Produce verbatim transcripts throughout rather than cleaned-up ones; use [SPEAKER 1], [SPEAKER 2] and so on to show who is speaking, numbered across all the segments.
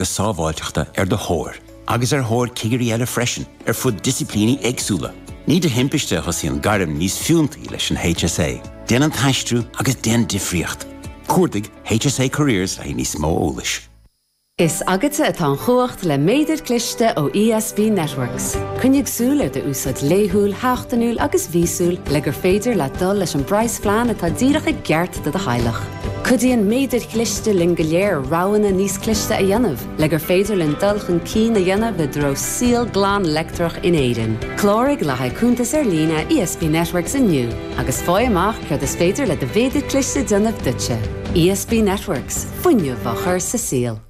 [SPEAKER 1] sábháilteachta ar do thóir, agus ar thóir cigirí eile freisin ar fud disciplíní éagsúla. Ní de thimpiste a thosaíonn gairm níos fiúntaí leis an HSA. Déan an t-aistriú agus déan difríocht. Cuardaigh HSA Careers le níos mó eolais.
[SPEAKER 2] Is agatsa atá an chumhacht le méadar cliste ó ESB Networks. Coinnigh súil ar d'úsáid laethúil, sheachtainiúil agus mhíosúil le gur féidir leat dul leis an bpraghasphlean atá díreach i gceart do do theaghlach. Cuidíonn méadair chliste linn go léir roghanna níos cliste a dhéanamh, le gur féidir linn dul chun cinn a dhéanamh i dtreo saol glan leictreach in Éirinn. Cláraigh le haghaidh cuntas ar líne ESB Networks inniu, agus faigh amach céard is féidir le do mhéadar cliste déanamh duitse. ESB Networks, fuinneamh á chur sa saol.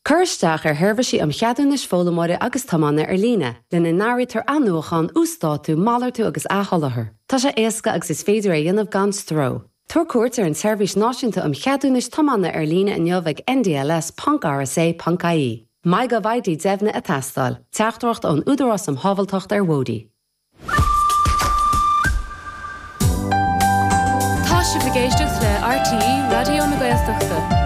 [SPEAKER 2] Cuir isteach ar sheirbhísí um cheadúnais foghlaimeora agus tiomána ar líne, lena n-áirítear athnuachan, uasdátú, malartú agus athsholáthar. Tá sé éasca agus is féidir é a dhéanamh gan stró. Tabhair cuairt ar an tSeirbhís Náisiúnta um Cheadúnais Tiomána ar líne inniu ag ndls ponc rsa ponc ie. MyGovID deimhnithe ag teastáil. Teachtaireacht ón Údarás um Shábháilteacht ar Bhóithre.
[SPEAKER 3] Tá sibh ag éisteacht le RTÉ Raidió na Gaeltachta.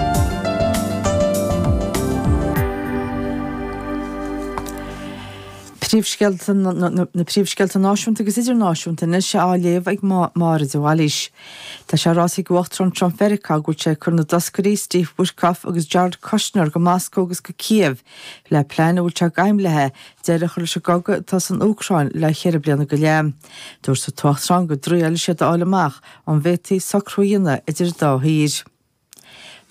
[SPEAKER 4] Príomhscéalta na príomhscéalta náisiúnta agus idirnáisiúnta anois á léamh ag Máire de Bhailís. Tá sé ráite ag Uachtarán Trump Mheiriceá go bhfuil sé ag cur na dtoscairí Steve Witkoff agus Jared Kushner go Moscó agus go Kiev le plean a bhfuil sé ag aidhm léi deireadh a chur leis an gcogadh atá san Úcráin le ceithre bliana go leith. Dúirt an tUachtarán go dtriailfidh siad a fháil amach an bhféadfaí socrú a dhéanamh idir an dá thír.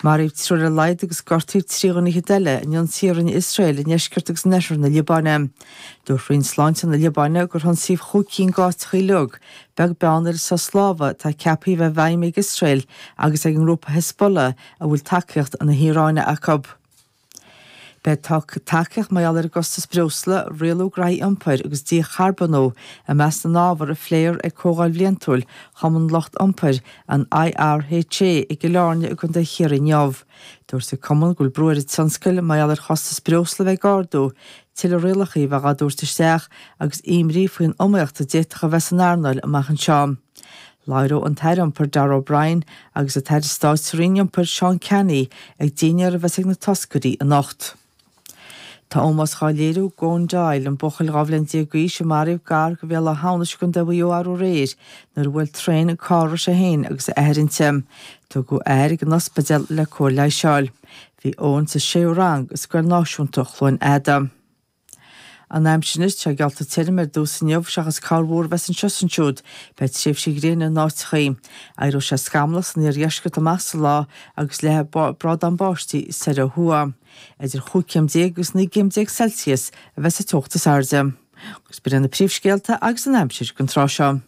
[SPEAKER 4] Maraíodh triúr ar a laghad agus gortaíodh trí dhuine fhichead eile in ionsaí a rinne Iosrael i ndeisceart agus in oirthear na Liobáine. Dúirt Roinn Sláinte na Liobáine gur hionsaíodh chúig cinn d'áiteacha uilig, beag beann ar an sos láimhe atá ceaptha a bheith i bhfeidhm ag Iosrael agus ag an ngrúpa Hezbollah a bhfuil tacaíocht na hIaráine acu. Beidh tacaíocht mar gheall ar an gcostas breosla, rialú graithí iompair agus dícharbónú i measc na n-ábhar a phléifear ag comhdháil bhliantúil Chumann Lucht Iompair, an IRHA, i gCill Airne i gContae Chiarraí inniu. Dúirt an cumann go bhfuil brú ar an tionscal mar gheall ar chostas breosla a bheith ag ardú, tuilleadh rialacha a bheith á dtabhairt isteach agus imní faoin iomaíocht a d'fhéadfadh a bheith san earnáil amach anseo. Labhróidh an tAire Iompair Darragh O'Brien agus an tAire Stáit sa Roinn Iompair Seán Canney ag dinnéar a bheas ag na toscairí anocht. Tá ómós dhá léiriú d'Eoin Doyle, an buachaill dhá bhliain déag d'aois a maraíodh gar do Bhéal Átha hAmhnais i gContae Mhaigh Eo arú aréir nuair a bhuail traein an carr a raibh sé féin agus a athair inti. Tugadh a athair ag an ospidéal le cóir leighis a fháil. Bhí Eoin sa séú rang i Scoil Náisiúnta Chluain Fheada. An aimsir anois, tá geallta tirim ar dtús inniu seachas corrmhúr a bheas anseo is ansiúd. Beidh tréimhsí gréine in áiteachaí. Éireoidh sé scamallach san iardheisceart amach sa lá agus leathfaidh brádán báistí soir ó thuaidh. Idir chúig chéim déag agus naoi gcéim déag Celsius a bheas an teocht is airde. Agus b'in iad na príomhscéalta agus an aimsir don tráth seo.